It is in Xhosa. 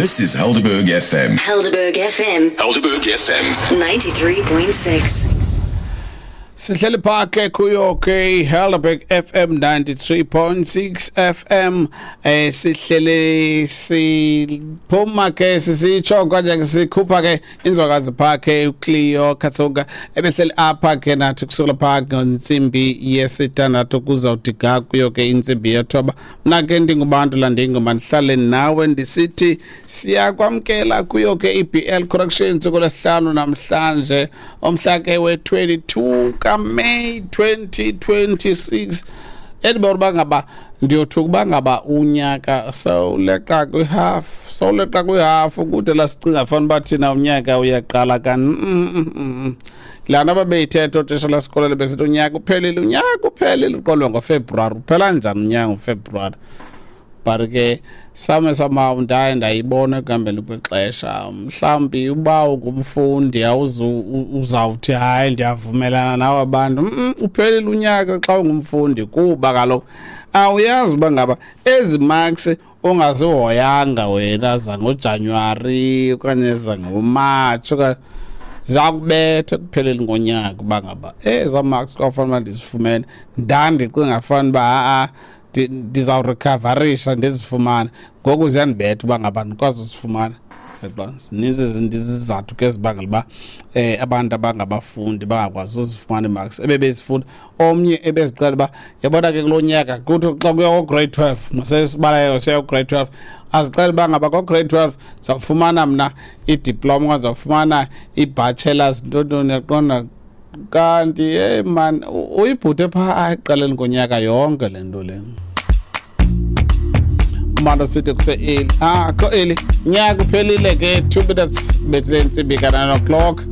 This is Helderberg FM. Helderberg FM. Helderberg FM. 93.6. Sihleli pha ke kuyo ke Helderberg FM 93.6 FM, sihlele siphuma ke sisitsho kanje ke sikhupha ke inzwakazi pha ke uCleo Katsonga ebehleli apha ke nathi kusukela pha ngentsimbi yesithandathu kuzawuthi ga kuyo ke intsimbi yethoba. Mna ke ndingubantu landingoma ndihlale nawe ndisithi siyakwamkela kuyo ke iBL Corrections kulesihlanu namhlanje, omhla ke we-22 kaMay 2026. Endibona uba ngaba ndiyothuka uba ngaba unyaka sewuleqa kwihafu, sewuleqa kwihafu kude lasicinga fana uba thina unyaka uyaqala kanti laa nto ababeyithetha ootishala lasikolweni besithi unyaka uphelile, unyaka uphelile, uqolwe ngoFebruwari. Uphela njani unyaka ngoFebruwari? But ke some somehow ndaye ndayibona ekuhambeni kwexesha. Mhlawumbi uba ungumfundi uzawuthi hayi, ndiyavumelana nawe abantu. Uphelile unyaka xa ungumfundi, kuba kaloku awuyazi uba ngaba ezi marks ungazihoyanga wena zangoJanuwari okanye zangoMatshi okanye zakubetha ekupheleni ngonyaka, uba ngaba ezaa marks kwafanele uba ndizifumene, ndandicinga fana uba ha-a ndizawurecoverisha ndizifumane, ngoku ziyandibetha uba ngaba ndikwazi uzifumana. Yabona, zininzi izinto, izizathu ke ezibangela uba abantu abangabafundi bangakwazi uzifumana ii-marks ebebezifuna. Omnye ebezixela uba yabona ke kulo nyaka kuthi xa kuya ko-grade 12, masesibalayo siya ku-grade 12, azixela uba ngaba ko-grade 12 ndizawufumana mna idiploma okanye ndizawufumana ii-bachelors, ntontoni, yaqonda. Kanti hey man, uyibhute phaa ekuqaleni konyaka yonke le nto le. Umando sithi kuse-early, ah, ko early, nyaka uphelile ke. 2 minutes bethile intsimbi ka-9 o'clock.